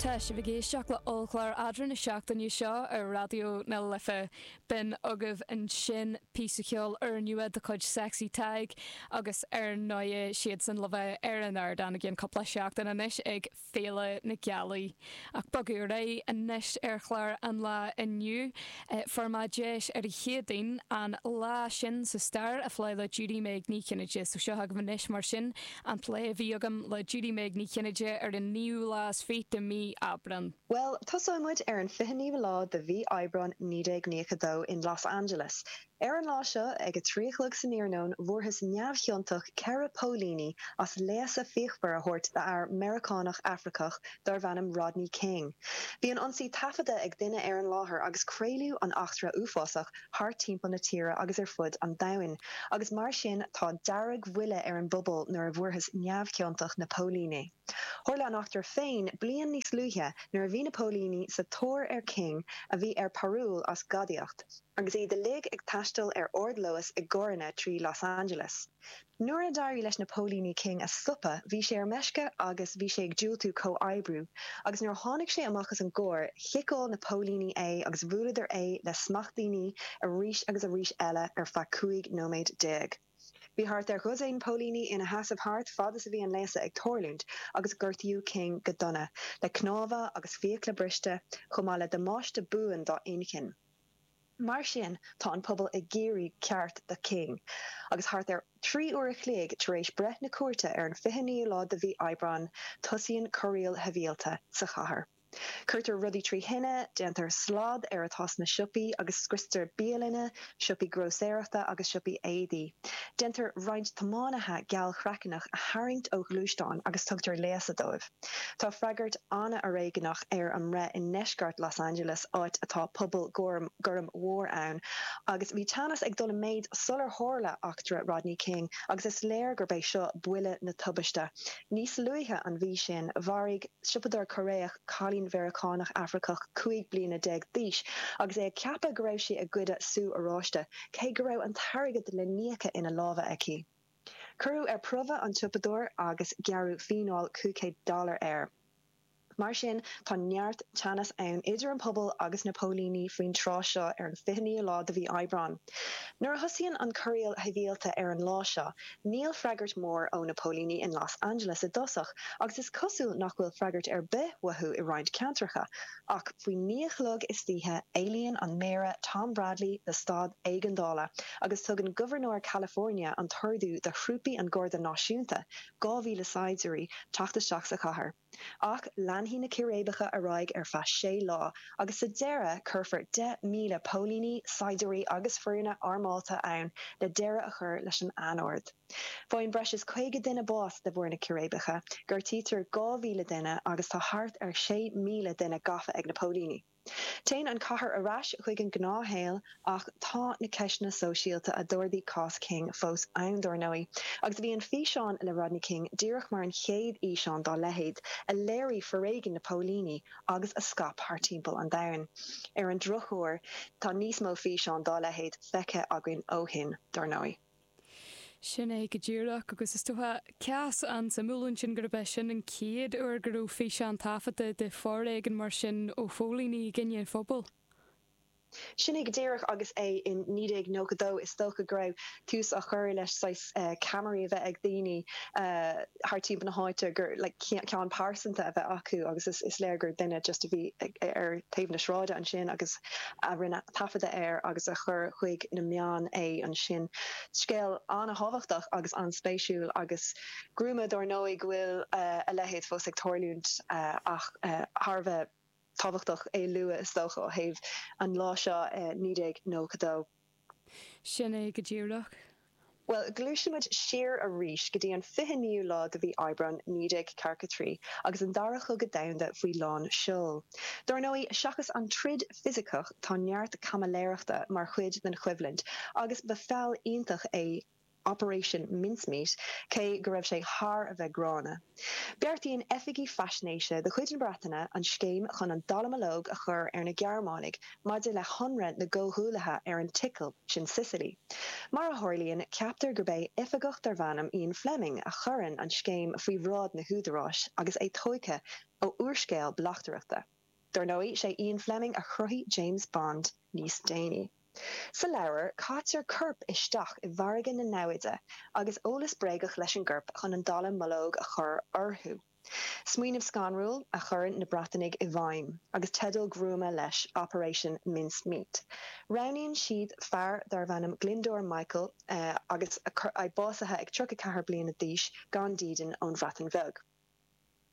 Tá sibh ag éisteacht le ollchlár eadra na seachtaine seo ar Raidió na Life. B'in agaibh ansin píosa ceoil úrnua de chuid Sexy Tadhg agus ar ndóigh siadsan le bheith ar an ardán i gcionn cúpla seachtain anois ag Féile na Gealaí. Ach bogadh ar aghaidh anois ar chlár an lae inniu. Fuair mé deis ar an Chéadaoin an lá sin sa stair a phlé le Judy Meg Ní Chinnéide. So seo agaibh anois mar sin an plé a bhí agam le Judy Meg Ní Chinnéide ar an naoú lá is fiche de mhí Aibreán. Bhuel, tosóidh muid ar an 29ú lá de mhí Aibreán 1992 in Los Angeles. Ar an lá seo, ag a trí a chlog san iarnóin, bhfuarthas neamhchiontach 4 póilíní as léasadh fíochmhar a thabhairt d'fhear Meiriceánach Afracach darbh ainm Rodney King. Bhí an ionsaí taifeadta ag duine ar an láthair agus craoladh an eachtra uafásach thart timpeall na tíre agus ar fud an domhain, agus mar sin tá deargbhuile ar an bpobal nuair a bhfuarthas neamhchiontach na póilíní. Tharla an eachtra féin bliain níos luaithe nuair a bhí na póilíní sa tóir ar King a bhí ar parúl as gadaíocht, agus iad uilig ag taisteal ar ardluas i gcarranna trí Los Angeles. Nuair a d'éirigh leis na póilíní King a stopadh, bhí sé ar meisce agus bhí sé ag diúltú comhoibriú, agus nuair a tháinig sé amach as an gcarr, chiceáil na póilíní é agus bhuaileadar é le smachtbhannaí arís agus arís eile ar feadh 15 nóiméad. Bhí thart ar dhosaen póilíní ina sheasamh thart fad is a bhí an léasadh ag tarlúint agus gortaíodh King go dona, le cnámha agus fiacla briste, chomh maith le damáiste buan dá inchinn. Mar sin, tá an pobal ag iarraidh ceart do King. Agus thart ar 3 uair a chloig tar éis breith na cúirte ar an 29ú lá de mhí Aibreán, tosaíonn corraíl shibhialta sa chathair. Cuirtear rudaí trí thine, déantar slad ar atá sna siopaí agus scriostar bialanna, siopaí grósaeireachta agus siopaí éadaí. Déantar roinnt tiománaithe gealchraiceannach a tharraingt ó ghluaisteáin agus tugtar léasadh dóibh. Tá freagairt an-fhoréigneach ar an mbreith i ndeisceart Los Angeles, áit atá pobal gorm mór ann, agus bhí teannas ag dul i méid sular tharla eachtra Rodney King agus is léir gurb é seo buille na tubaiste. Níos luaithe an mhí sin, mharaigh siopadóir Cóiréach cailín Mheiriceánach Afracach 15 bliana d'aois agus é ag ceapadh go raibh sí ag goideadh sú oráiste, cé go raibh an t-airgead le n-íoc ina lámha aici. Cuireadh ar promhadh an tsiopadóir agus gearradh fíneáil 500 dollar air. Mar sin, tá neart teannas ann idir an pobal agus na póilíní faoin tráth seo ar an 29ú lá de mhí Aibreán. Nuair a thosaíonn an corraíl shibhialta ar an lá seo, níl freagairt mhór ó na póilíní in Los Angeles i dtosach agus is cosúil nach bhfuil freagairt ar bith uathu i roinnt ceantracha. Ach faoi naoi a chlog istoíche, éilíonn an Méara Tom Bradley do staid éigeandála agus tugann Gobharnóir California an t-ordú do thrúpaí an Gharda Náisiúnta, 2,000 saighdiúirí, teacht isteach sa chathair. Ach leanfaidh na círéibeacha ar aghaidh ar feadh sé lá agus sa deireadh cuirfear 10,000 póilíní, saighdiúirí agus foirne armálta ann le deireadh a chur leis an anord. Faigheann breis is 50 duine bás de bharr na círéibeacha, gortaítear 2,000 duine agus tá thart ar 6,000 duine gafa ag na póilíní. Téann an chathair ar ais chuig an ngnáthshaol ach tá na ceisteanna sóisialta a d'ardaigh cás King fós ann, dár ndóigh, agus bhí an físeán le Rodney King díreach mar an chéad fhíseán dá leithéid a léirigh foréigean na póilíní agus a scaip thar timpeall an domhain. Ar an drochuair, tá níos mó físeán dá leithéid feicthe againn ó shin, dár ndóigh. Sin é go díreach, agus is dócha, cás an-suimiúil ansin gurb é sin an chéad uair go raibh físeán taifeadta de foréigean mar sin ó phóilíní i gcoinne an phobail. Sin é go díreach, agus é in 1992, is dócha go raibh tús á chur leis saghas ceamaraí a bheith ag daoine thar timpeall na háite, gur like ceann pearsanta a bheith acu agus is léir gur duine just a bhí ar taobh na sráide ansin agus a rinne taifeadadh air agus a chuir chuig na meáin é ansin. Scéal an-thábhachtach agus an-spéisiúil agus gruama dár ndóigh go bhfuil a leithéid fós ag tarlúint ach thar a bheith tábhachtach é a lua is dócha ó thaobh an lá seo i 1992. Sin é go díreach. Bhuel, gluaisimid siar arís go dtí an 29ú lá de mhí Aibreán 1943 agus an Dara Cogadh Domhanda faoi lán seoil. Dár ndóigh, seachas an troid fisiceach, tá neart caimiléireachta mar chuid den choimhlint agus ba feall iontach é Operation Mincemeat, cé go raibh sé thar a bheith gránna. Beartaíonn oifigigh faisnéise de chuid na Breataine an scéim chun an dallamullóg a chur ar na Gearmánaigh maidir le hionradh na gComhghuaillithe ar an tSicil, sin Sicily. Mar a tharlaíonn, ceaptar gurb é oifigeach darbh ainm Ian Fleming a chuireann an scéim faoi bhráid na húdaráis agus é tógtha. ó úrscéal bleachtaireachta. Dar ndóigh, sé Ian Fleming a chruthaigh James Bond níos déanaí. Sa leabhar, caitear corp isteach i bhfarraige na namhaide agus eolas bréagach leis an gcorp chun an dallamullóg a chur orthu. Smaoineamh scanrúil a chuireann na Breatanaigh i bhfeidhm, agus teideal gruama leis, Operation Mincemeat. Roghnaíonn siad fear darbh ainm Glyndwr Michael agus é básaithe ag 34 bliana d'aois, gan dídean, ón Bhreatain Bheag.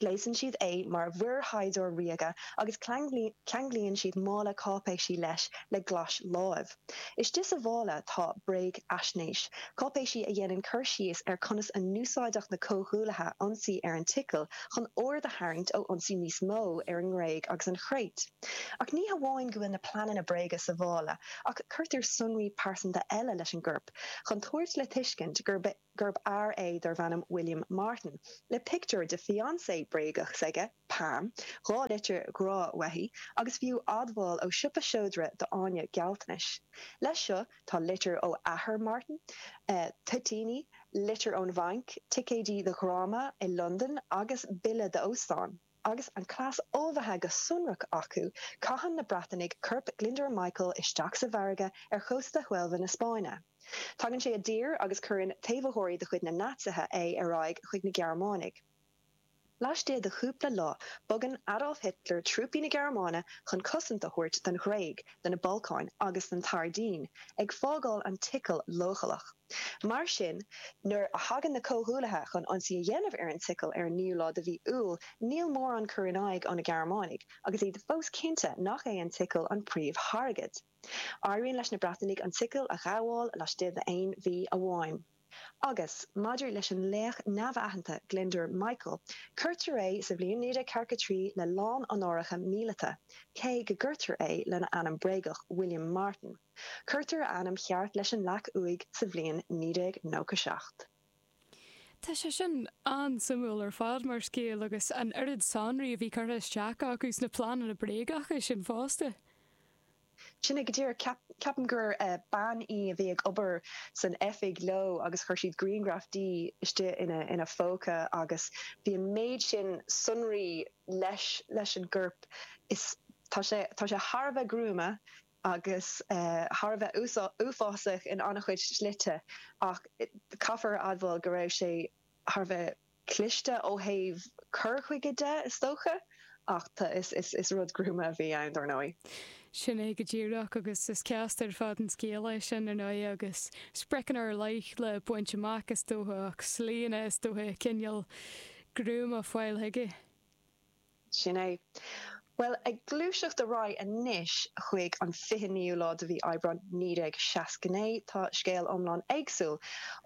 Gléasann siad é mar mhuirshaighdiúir ríoga agus ceanglaíonn siad mála cáipéisí leis le glais láimh. Istigh sa mhála tá bréagaisnéis, cáipéisí a dhéanann cur síos ar conas a n-úsáidfeadh na Comhghuaillithe ionsaí ar an tSicil chun aird a tharraingt ó ionsaí níos mó ar an nGréig agus an Chréit. Ach ní hamháin go bhfuil na pleananna bréige sa mhála ach cuirtear sonraí pearsanta eile leis an gcorp chun tabhairt le tuiscint gurb gurb fhear é darbh ainm William Martin, le pictiúr de fiancé bréagach s'aige, Pam, 2 litir ghrá uaithi, agus fiú admháil ó siopa seodra d'fháinne gealltanais. Leis seo tá litir ó athair Martin, toitíní, litir ón bhanc, ticéidí do dhráma i Londain agus bille d'óstán. Agus an cleas ullmhaithe go sonrach acu, caitheann na Breatanaigh corp Glyndwr Michael isteach sa bhfarraige ar chósta Huelva na Spáinne. Tagann sé i dtír agus cuireann taobhaitheoirí de chuid na Naitsithe é ar aghaidh chuig na Gearmánaigh. Laistigh de chúpla lá, bogann Adolf Hitler trúpaí na Gearmáine chun cosaint a thabhairt don Ghréig, do na Balcáin agus don tSairdín, ag fágáil an tSicil leochaileach. Mar sin, nuair a thagann na Comhghuaillithe chun ionsaí a dhéanamh ar an tSicil ar an naoú lá de mhí Iúil, níl mórán cur in aghaidh ó na Gearmánaigh, agus iad fós cinnte nach é an tSicil an príomhthargaid. Éiríonn leis na Breatanaigh an tSicil a ghabháil laistigh d'aon mhí amháin. Agus, maidir leis an laoch neamhaitheanta Glyndwr Michael, cuirtear é sa bhliain 1943 le lán-onóracha míleata, cé go gcuirtear é lena ainm bréagach, William Martin. Cuirtear a ainm cheart leis an leac uaighe sa bhliain 1997. Tá sé sin an-suimiúil ar fad mar scéal agus an oiread sonraí a bhí curtha isteach acu sna pleananna bréagacha sin fosta. Sin é go díreach. Ceapaim gur bean í a bhí ag obair san oifig leo agus chuir siad grianghraf di istigh ina phóca agus bhí an méid sin sonraí leis leis an gcorp. Is tá sé tá sé thar a bheith gruama agus thar a bheith uafásach in an-chuid slite ach caithfear a admháil go raibh sé thar a bheith cliste ó thaobh cur chuige de, is dócha, ach is rud gruama a bhí ann, dar ndóigh. Sin é go díreach, agus is casta ar fad an scéal é sin, ar ndóigh, agus spriocanna ar leith le baint amach, is dócha, ach slíanna, is dócha, cineál gruama fáil chuige. Sin é. Bhuel, ag gluaiseacht ar aghaidh anois chuig an 29ú lá de mhí Aibreáin 1969, tá scéal iomlán éagsúil.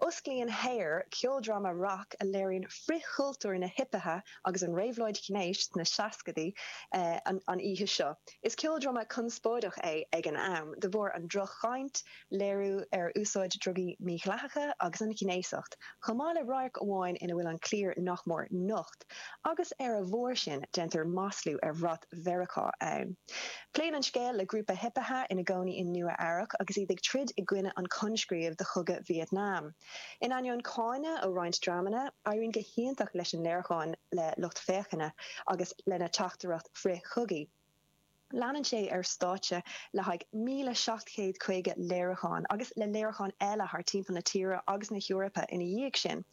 Osclaíonn Hair, ceoldráma rac a léiríonn frithchultúr na hipithe agus an réabhlóid ghnéis sna seascaidí, an oíche seo. Is ceoldráma conspóideach é ag an am, de bharr an droch-chaint, léiriú ar úsáid drugaí mídhleathacha agus an ghnéasacht, chomh maith le radharc amháin ina bhfuil an cliar nach mór nocht, agus ar a bharr sin déantar maslú ar bhrat Mheiriceá ann. Pléann an scéal le grúpa hipithe ina gcónaí i Nua Eabhrac agus iad ag troid i gcoinne an coinscríobh do chogadh Vietnam. In ainneoin cáineadh ó roinnt dreamanna, éiríonn go hiontach leis an léiriúchán le lucht féachana agus lena teachtaireacht frith-chogaidh. Leanann sé ar stáitse le haghaidh 1,750 léiriúchán agus le léiriúcháin eile thar timpeall na tíre agus na hEorpa ina dhiaidh sin.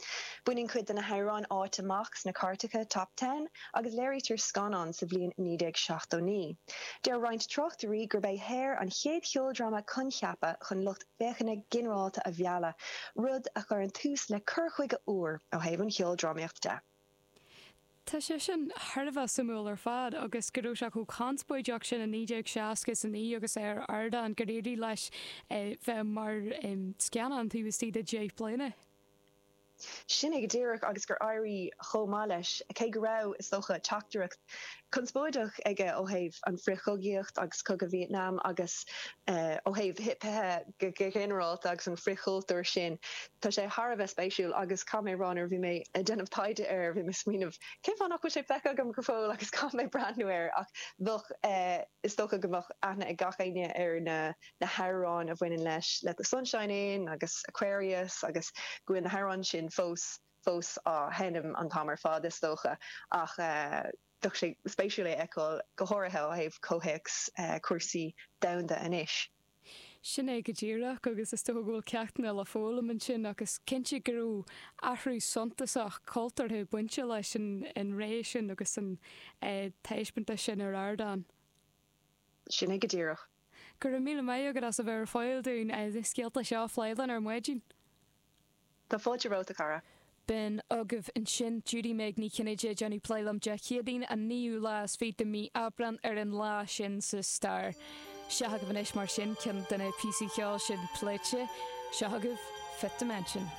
Baineann cuid de na hamhráin áit amach sna cairteacha Top Ten agus léirítear scannán sa bhliain 1979. Deir roinnt tráchtairí gurb é Hair an chéad cheoldráma coincheapa chun lucht féachana ginearálta a mhealladh, rud a chuireann tús le cur chuige úr ó thaobh an cheoldrámaíocht de. Tá sé sin thar a bheith suimiúil ar fad agus go raibh sé chomh conspóideach sin i 1969 agus é ar ardán gur éirigh leis bheith mar scannán taobh istigh de dheich bliana. Sin é go díreach agus gur éirigh chomh maith leis, cé go raibh, is dócha, teachtaireacht conspóideach aige ó thaobh an frithchogaíocht agus cogadh Vietnam agus ó thaobh hipithe go ginearálta agus an frithchultúr sin. Tá sé thar a bheith spéisiúil agus caithfidh mé a rá nuair a bhí mé ag déanamh taighde air bhí mé ag smaoineamh cén fáth nach bhfuil sé feicthe agam go fóill agus caithfidh mé breathnú air ach bheadh is dócha go mbeadh aithne ag gach éinne ar na na hamhráin a bhaineann leis Let the Sunshine In agus Aquarius agus go bhfuil na hamhráin sin fós fós á sheinm an t-am ar fad is dócha ach. Bheadh sé spéisiúil é a fheiceáil, go háirithe ó thaobh comhthéacs cúrsaí domhanda anois. Sin é go díreach, agus is dócha go bhfuil ceachtanna le foghlaim ansin ach is cinnte go raibh athrú suntasach cultúrtha bainte leis an ré sin agus an taispeántas sin ar ardán. Sin é go díreach. Go raibh míle maith agat as a bheith ar fáil dúinn na scéalta seo a phlé linn ar maidin. Tá fáilte romhat, a chara. B'in agaibh ansin Judy Meg Ní Chinnéide ag déanamh plé liom Dé Céadaoin an naoú lá is fiche de mí Aibreán ar an lá sin sa stair. Seo agaibh anois mar sin ceann de na píosaí ceoil sin pléite. Seo agaibh Fifth Dimension.